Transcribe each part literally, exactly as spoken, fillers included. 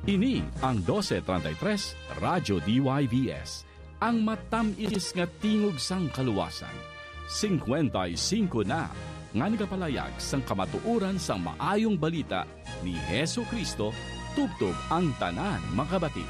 Ini ang dose treinta y tres Radyo D Y V S, ang matamis nga tingog sang kaluwasan. Singkwenta y singko na nga nagapalayag sang kamatuoran sang Maayong Balita ni Jesu-Cristo tubtob ang tanan makabati.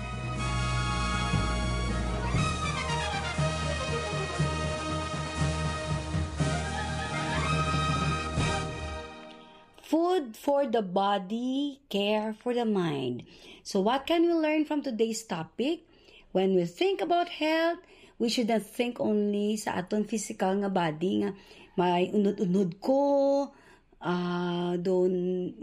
Food for the body, care for the mind. So what can we learn from today's topic? When we think about health, we should not think only sa aton physical nga body nga may unod-unod ko, ah, doon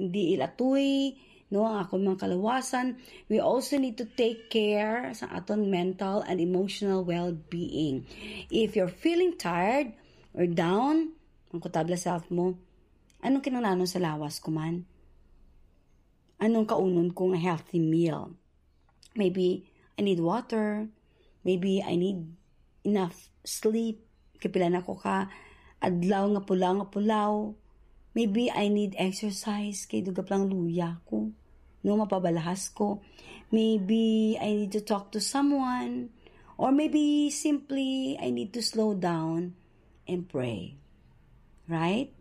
di ilatoy, no, ang akon mga kalawasan. We also need to take care sa aton mental and emotional well-being. If you're feeling tired or down, ang kutabla self mo, anong kinahanglanon sa lawas ko man? Anong kaunon ko nga healthy meal? Maybe I need water. Maybe I need enough sleep. Kay pila na ko ka adlaw nga pulaw nga pulaw. Maybe I need exercise kay dugap lang luya ko. No, mapabalahas ko. Maybe I need to talk to someone. Or maybe simply I need to slow down and pray. Right?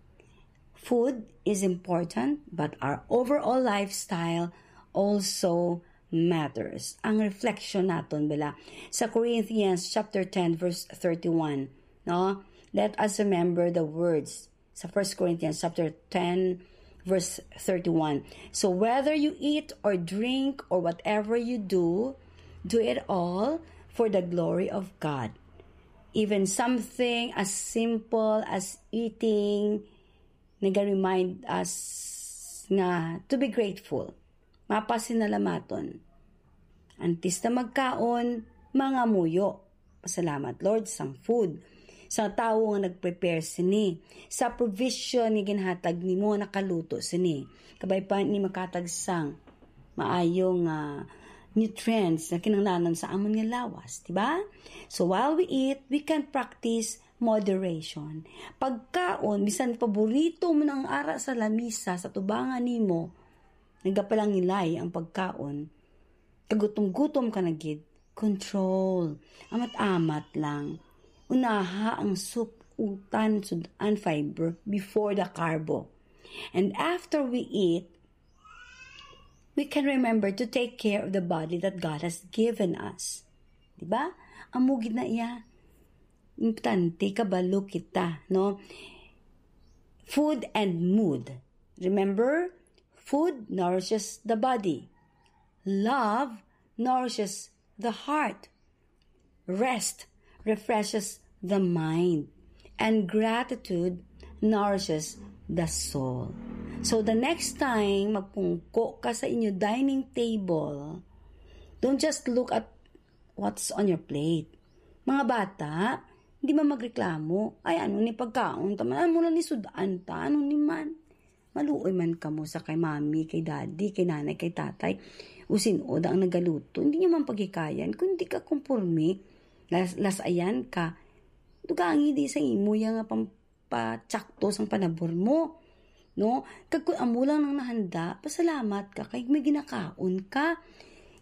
Food is important, but our overall lifestyle also matters. Ang reflection naton bala sa Corinthians chapter ten, verse thirty-one, no? Let us remember the words sa First Corinthians chapter ten, verse thirty-one. So whether you eat or drink or whatever you do, do it all for the glory of God. Even something as simple as eating naga-remind us nga to be grateful. Mapasinalamaton. Antes na magkaon, mangamuyo. Pasalamat, Lord, sang food, sa tawo nga nag-prepare sini, sa provision nga ginhatag nimo nga nakaluto sini. Kabay pa ni makatag sang maayo nga nutrients na kinahanglanon sa amon nga lawas, di ba? So while we eat, we can practice moderation. Pagkaon, bisan paborito mo na ang ara sa lamisa sa tubangan nimo, nagapalangilay ang pagkaon. Kagutom-gutom ka na gid, control. Amat-amat lang. Unaha ang soup, utan, sud-an, fiber before the carbo. And after we eat, we can remember to take care of the body that God has given us. Di ba? Amo gid na iya. Importante kabalo kita, no? Food and mood. Remember, food nourishes the body. Love nourishes the heart. Rest refreshes the mind. And gratitude nourishes the soul. So the next time magpungko ka sa inyo dining table, don't just look at what's on your plate. Mga bata, di man magreklamo, "Ay, ano ni pagkaon ta man? Ano lang ni sud-an ta? Ano ni man?" Maluoy man kamo sa kay mami, kay daddy, kay nanay, kay tatay, o sin-o da ang nagaluto. Hindi nyo man paghikayan, kung di ka komporme, las-, lasayan ka. Dugangi di sa imo ya nga pam-, patsakto sang panabor mo, no? Kag kung amo lang nang nahanda, pasalamat ka kay may ginakaon ka.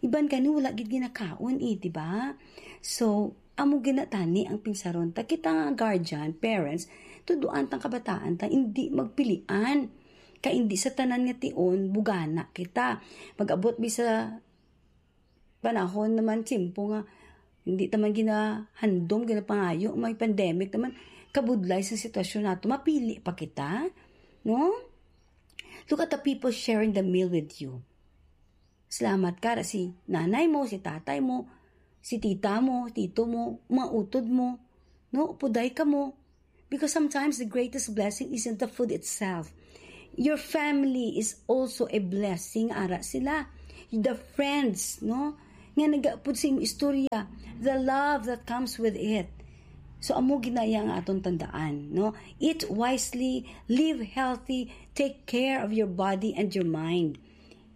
Iban gani wala gid ginakaon, eh, di ba? So, amo gid na tani ang pinsaron ta. Kita nga guardian, parents, tuduan tang kabataan ta, hindi magpilian. Kay hindi sa tanan nga tion, bugana kita. Mag-abot mi sa panahon naman, tiyempo nga hindi ta man ginahandom, ginapangayo, may pandemic naman, kabudlay sa sitwasyon nato, mapili pa kita, no? Look at the people sharing the meal with you. Salamat ka ra si nanay mo, si tatay mo, si tita mo, tito mo, mga utod mo, no? Puday ka mo. Because sometimes the greatest blessing isn't the food itself. Your family is also a blessing, ara sila. The friends, no? Nga nagapod sa imong istorya, the love that comes with it. So, amo ginaya nga aton tandaan, no? Eat wisely, live healthy, take care of your body and your mind.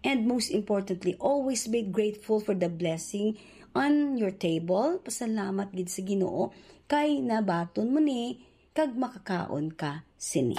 And most importantly, always be grateful for the blessing on your table. Pasalamat gid sa Ginoo kay nabaton mo ni kag makakaon ka sini.